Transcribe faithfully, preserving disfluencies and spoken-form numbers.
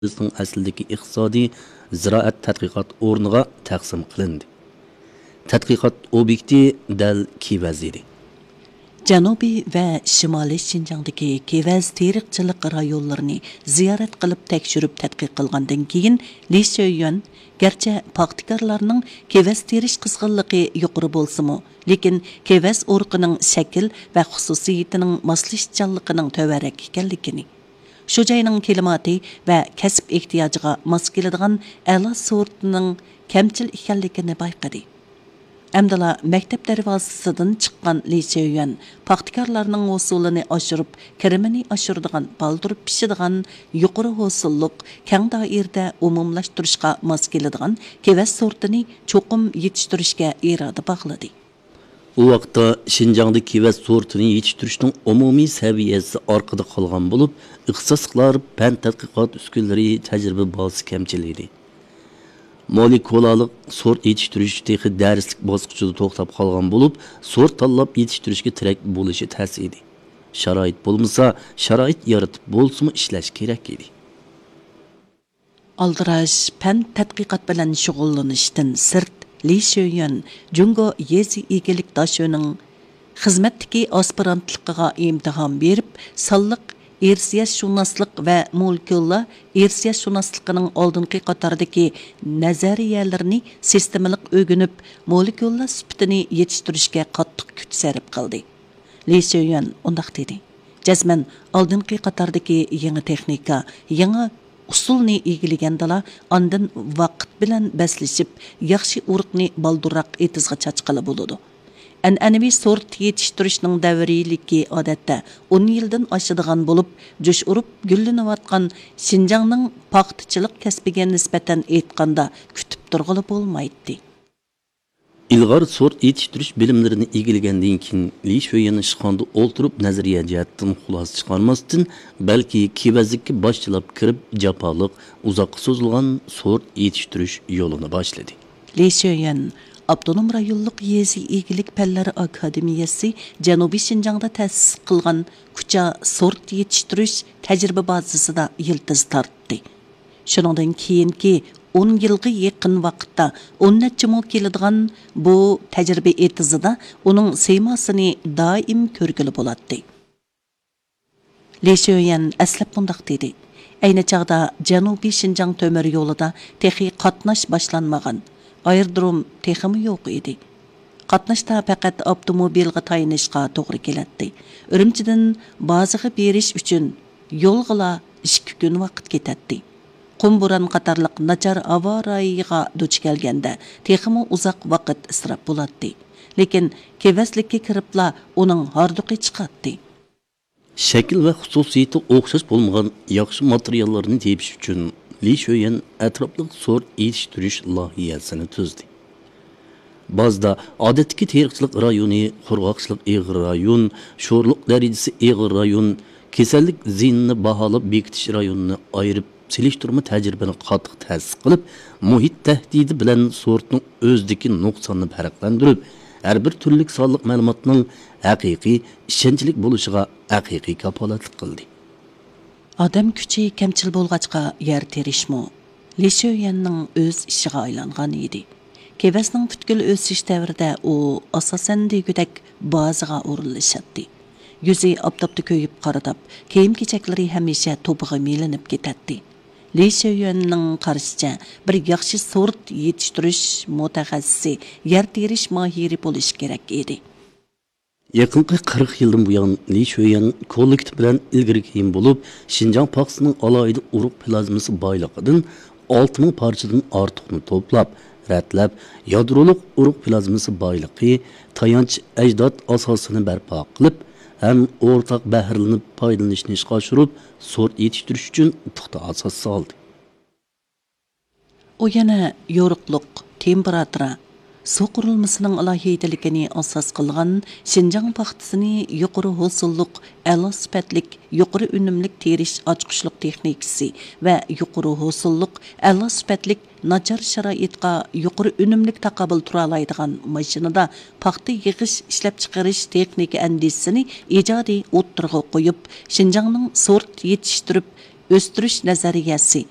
بىزنىڭ ئەسلىدىكى ئىقتىسادىي زىرائەت تەتقىقات ئورنىغا تەقسىم قىلىندى. تەتقىقات ئوبيېكتى دەل كېۋەز ئىدى. جەنۇبىي ۋە شىمالىي شىنجاڭدىكى كېۋەز تېرىقچىلىق رايونلىرىنى زىيارەت قىلىپ تەكشۈرۈپ تەتقىق قىلغاندىن كېيىن، لى شۆيۈەن گەرچە پاختىكارلارنىڭ كېۋەز تېرىش قىزغىنلىقى يۇقىرى بولسىمۇ، لېكىن كېۋەز ئۇرۇقىنىڭ شەكىل ۋە خۇسۇسىيىتىنىڭ ماسلىشىشچانلىقىنىڭ تۆۋەنرەك ئىكەنلىكىنى، شۇ جاينىڭ كىلىماتى ۋە كەسىپ ئېھتىياجىغا ماس كېلىدىغان ئەلا سورتىنىڭ كەمچىل ئىكەنلىكىنى بايقىدى. ئەمدىلا مەكتەپ دەرۋازىسىدىن چىققان لى شۆيۈەن پاختىكارلارنىڭ ھوسۇلىنى ئاشۇرۇپ، كىرىمىنى ئاشۇرىدىغان، بالدۇر پىشىدىغان، يۇقىرى ھوسۇللۇق، كەڭ دائىرىدە ئومۇملاشتۇرۇشقا ماس كېلىدىغان كېۋەز سورتىنى چوقۇم يېتىشتۈرۈشكە ئىرادە باغلىدى. ئۇ ۋاقىتتا شىنجاڭدا كېۋەز سورتىنى يېتىشتۈرۈشنىڭ ئومۇمىي سەۋىيەسى ئارقىدا قالغان بولۇپ، ئىختىساسلىقلار پەن تەتقىقات ئۈسكۈنىلىرى، تەجرىبە بازىسى كەمچىل ئىدى. مولېكۇلالىق سورت يېتىشتۈرۈش تېخى دەرسلىك باسقۇچىدا توختاپ قالغان بولۇپ، سورت تاللاپ يېتىشتۈرۈشكە تىرەك بولۇشى تەس ئىدى. شارائىت بولمىسا، شارائىت يارىتىپ بولسىمۇ ئىشلەش كېرەك ئىدى. ئالدىراش پەن تەتقىقات بىلەن شۇغۇللىنىشتىن سىرت، لى شۆيۈەن جۇڭگو يېزا ئىگىلىك داشۆنىڭ خىزمەتتىكى ئاسپىرانتلىقىغا ئىمتىھان بېرىپ، سانلىق ئىرسىيەتشۇناسلىق ۋە مولېكۇللار ئىرسىيەتشۇناسلىقىنىڭ ئالدىنقى قاتاردىكى نەزەرىيەلىرىنى سىستېمىلىق ئۆگىنىپ، مولېكۇللار سۈپىتىنى يېتىشتۈرۈشكە قاتتىق كۈچ سەرپ قىلدى. لى شۆيۈەن ئۇنداق دېدى، جەزمەن ئالدىنقى قاتاردىكى يېڭى تېخنىكا، يېڭى ئۇسۇلنى ئىگىلىگەندىلا، ئاندىن ۋاقىت بىلەن بەسلىشىپ، ياخشى ئۇرۇقنى بالدۇرراق ئېتىزغا چاچقىلى بولىدۇ. ئەنئەنىۋى سورت يېتىشتۈرۈشنىڭ دەۋرىيلىكى ئادەتتە ئون يىلدىن ئاشىدىغان بولۇپ، جۇش ئۇرۇپ گۈللىنىۋاتقان شىنجاڭنىڭ پاختىچىلىق كەسپىگە نىسبەتەن ئېيتقاندا، كۈتۈپ تۇرغىلى بولمايتتى. ئىلغار سورت يېتىشتۈرۈش بىلىملىرىنى ئىگىلىگەندىن كېيىن، لى شۆيۈەن ئىشخانىدا ئولتۇرۇپ نەزەرىيە جەھەتتىن خۇلاسە چىقارماستىن، بەلكى كېۋەزلىككە باشچىلاپ كىرىپ، جاپالىق، ئۇزاققا سوزۇلغان سورت يېتىشتۈرۈش يولىنى باشلىدى. لى شۆيۈەن ئاپتونوم رايونلۇق يېزا ئىگىلىك پەنلىرى ئاكادېمىيەسى جەنۇبىي شىنجاڭدا تەسىس قىلغان كۇچا سورت يېتىشتۈرۈش تەجرىبە بازىسىدا يىلتىز تارتتى. شۇنىڭدىن كېيىنكى ئون يىلغا يېقىن ۋاقىتتا ئون نەچچە مو كېلىدىغان بۇ تەجرىبە ئېتىزىدا ئۇنىڭ سىيماسىنى دائىم كۆرگىلى بولاتتى. لى شۆيۈەن ئەسلەپ مۇنداق دېدى، ئەينى چاغدا جەنۇبىي شىنجاڭ تۆمۈر يولىدا تېخى قاتناش باشلانمىغان، ئايرودروم تېخىمۇ يوق ئىدى. قاتناشتا پەقەت ئاپتوموبىلغا تايىنىشقا توغرا كېلەتتى. ئۈرۈمچىدىن بازىغا بېرىش ئۈچۈن يولغىلا ئىككى كۈن ۋاقىت كېتەتتى. قۇم بوران قاتارلىق ناچار ھاۋا رايىغا دۇچ كەلگەندە تېخىمۇ ئۇزاق ۋاقىت ئىسراپ بولاتتى. لېكىن كېۋەزلىككە كىرىپلا ئۇنىڭ ھاردۇقى چىقاتتى. شەكىل ۋە خۇسۇسىيىتى ئوخشاش بولمىغان ياخشى ماتېرىياللارنى تېپىش ئۈچۈن لى شۆيۈەن ئەتراپلىق سورت يېتىشتۈرۈش لايىھەسىنى تۈزدى. بازىدا ئادەتتىكى تېرىقچىلىق رايونى، قۇرغاقچىلىق ئېغىر رايون، شورلۇق دەرىجىسى ئېغىر رايون، كېسەللىك زىيىنىنى باھالاپ بېكىتىش رايونىنى ئايرىپ، سېلىشتۇرما تەجرىبىنى قاتتىق تەسىس قىلىپ، مۇھىت تەھدىتى بىلەن سورتنىڭ ئۆزىدىكى نۇقساننى پەرقلەندۈرۈپ، ھەر بىر تۈرلۈك سانلىق مەلۇماتنىڭ ھەقىقىي، ئىشەنچلىك بولۇشىغا ھەقىقىي كاپالەتلىك قىلدى. ئادەم كۈچى كەمچىل بولغاچقا، يەر تېرىشمۇ لى شۆيۈەننىڭ ئۆز ئىشىغا ئايلانغان ئىدى. كېۋەزنىڭ پۈتكۈل ئۆسۈش دەۋرىدە ئۇ، ئاساسەن، دېگۈدەك بازىغا ئورۇنلىشاتتى. يۈزى ئاپتاپتا كۆيۈپ قارىداپ، كىيىم-كېچەكلىرى ھەمىشە توپىغا مىلىنىپ كېتەتتى. لى شۆيۈەننىڭ قارىشىچە، بىر ياخشى سورت يېتىشتۈرۈش مۇتەخەسسىسى، يەر تېرىش ماھىرى بولۇشى كېرەك ئىدى. يېقىنقى قىرىق يىلدىن بۇيان، لى شۆيۈەن كوللېكتىپ بىلەن ئىلگىرى كېيىن بولۇپ، شىنجاڭ پاختىسىنىڭ ئالاھىدە ئۇرۇق پلازمىسى بايلىقىدىن ئالتە مىڭ پارچىدىن ئارتۇقنى توپلاپ، رەتلەپ، يادرولۇق ئۇرۇق پلازمىسى بايلىقى، تايانچ ئەجداد ئاساسىنى بەرپا قىلىپ ھەم ئورتاق بەھرىلىنىپ پايدىلىنىشنى ئىشقا ئاشۇرۇپ، سورت يېتىشتۈرۈش ئۈچۈن پۇختا ئاساس سالدى. ئۇ يەنە يورۇقلۇق، تېمپېراتۇرا، سۇ قۇرۇلمىسىنىڭ ئالاھىدىلىكىنى ئاساس قىلغان شىنجاڭ پاختىسىنى يۇقىرى ھوسۇللۇق، ئەلا سۈپەتلىك، يۇقىرى ئۈنۈملۈك تېرىش ئاچقۇچلۇق تېخنىكىسى ۋە يۇقىرى ھوسۇللۇق، ئەلا سۈپەتلىك، ناچار شارائىتقا يۇقىرى ئۈنۈملۈك تاقابىل تۇرالايدىغان ماشىنىدا پاختا يىغىش، ئىشلەپچىقىرىش تېخنىكا ئەندىزىسىنى ئىجادىي ئوتتۇرىغا قويۇپ، شىنجاڭنىڭ سورت يېتىشتۈرۈپ، ئۆستۈرۈش نەزەرىيەسى